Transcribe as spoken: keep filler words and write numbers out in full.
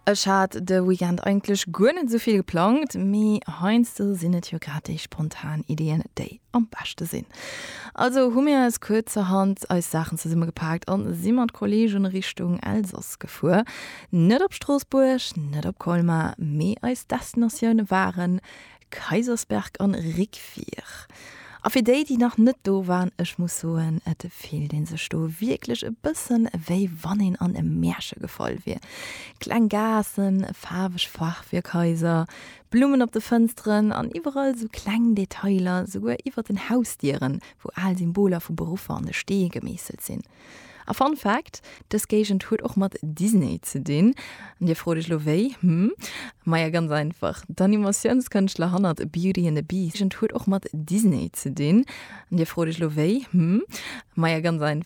Ech hat de Weekend eigentlech guer net esou vill geplangt, mee heiansdo sinn et jo grad déi spontan Iddien, déi am beschte sinn. Also hu mir eis kuerzerhand eis Saachen zesummegepaakt an si mat Kolleegen Richtung Elsass gefuer. Net op Stroossbuerg, net op Colmar, mee eis Destinatioune waren Kaysersberg an Riquewihr. A fir déi, déi nach net do waren, ech muss soen, et fillt een sech do wierklech e bëssen wéi wann een an e Märche gefall wier. Kleng Gaassen, faarweg Fachwierkhaiser, Blummen op de Fënsteren an iwwerall sou kleng Detailer, souguer iwwer den Hausdieren, wou al Symboler vu Beruffer an de Stee gemeesselt sinn. A Fun Fact, Dës Géigend huet och mat Disney ze dinn. An dir frot iech lo wéi? Hm? Maja ganz einfach, D'Animatiounskënschtler hannert Beauty and the Beast huet och mat Disney ze dinn. An dir frot iech lo wéi? Hm? Maja ganz einfach.